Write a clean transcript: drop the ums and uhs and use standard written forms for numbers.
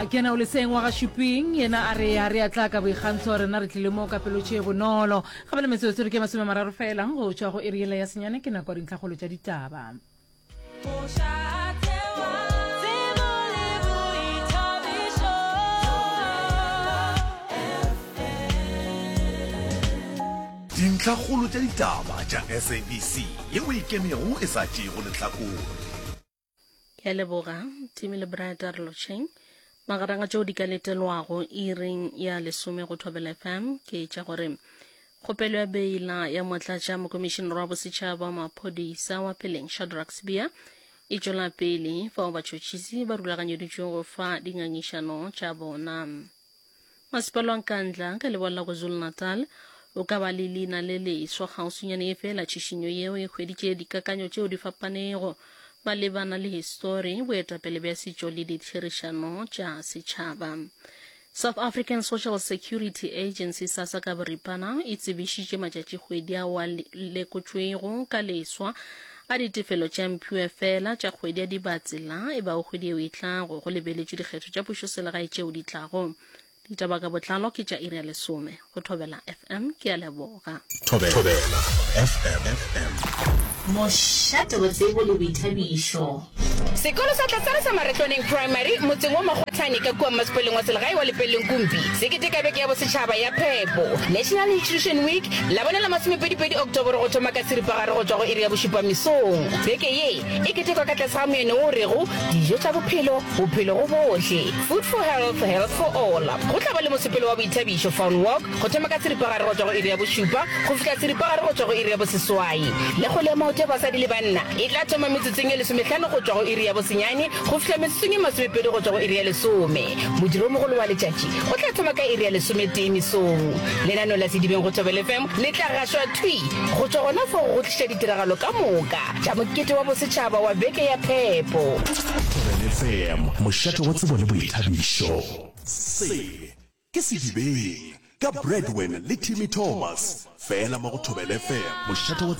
Ke yena o leseng wa ga Šuping, yena a re a re a tla ka boikgantsho, rena re tlile mo ka pelo tše bonolo. Ga bjale metsotso re ke 30 fela go tšwa go iri yela ya senyane, ke nako ya dintlhakgolo tša ditaba. Dintlhakgolo tša ditaba tša SABC yeo e ikemego e sa tšeego lehlakore. Ke a leboga, Timi le Brad a re lotšheng. Magareng a tšeo di ka letelwago iring ya lesome go Thobela FM ke tša gore kgopelo ya beila ya motlatša mokomišenere wa bosetšhaba wa maphodisa wa peleng Shadrack Sibiya e tšwela pele fao batšhotšhisi ba rulaganyeditšweng go fa dingangišano tša bona. Masepala wa Nkandla ka leboa la KwaZulu-Natal o ka ba le leina le leswa kgauswinyane ye fela tšhišinyo yeo e hweditše dikakanyo tšeo di fapanego malebana le histori, boetapele bja setšo le ditherišano tša setšhaba. South African Social Security Agency, SASSA ka boripana, e tsebišitše matšatšikgwedi ao a lekotšwego ka leswa a ditefelo tša mphiwefela tša kgwedi ya Dibatsela e bago kgwedi yeo e tlago, go lebeletšwe dikgetho tša pušoselegae tšeo di tlago. Ditaba ka botlalo ke tša iri ya lesome go Thobela FM. Ke a leboga. Thobela FM. Mošate wa tsebo le boithabišo. Sekolo sa Tlasana sa Maretlwaneng Primary motseng wa Makgwathane ka kua mmasepaleng wa selegae wa Lepelleng Kumpi se keteka beke ya bosetšhaba ya phepo, National Nutrition Week, Labone la masomepedipedi Oktoboro go thoma ka seripagare go tšwa go iri ya bošupa mesong. Beke ye e ketekwa ka tlase ga moeno wo o rego, Dijo tša bophelo, bophelo go bohle, Food for Health, Health for All. Go tla ba le mosepelo wa boithabišo, Fun Walk, go thoma ka seripagare go tšwa go iri ya bošupa go fihla seripagare go tšwa go iri ya boseswai. Le kgwele ya maoto ya basadi le banna e tla thoma metsotsong ye lesomehlano go tšwa go iri ya bosenyane go fihla metsotsong ye masomepedi go tšwa go iri ya lesome. Modiro o mogolo wa letšatši o tla thoma ka iri ya lesometee mesong. Lenaneo la Sedibeng go Thobela FM le tla gašwa thwi go tšwa gona fao go go tliša ditiragalo ka moka tša mokete wa bosetšhaba wa Beke ya Phepo. Thobela FM, mošate wa tsebo le boithabišo. Se Ke Sedibeng ka Bradwin le Timmy Thomas, fela mo go Thobela FM, mošate wa.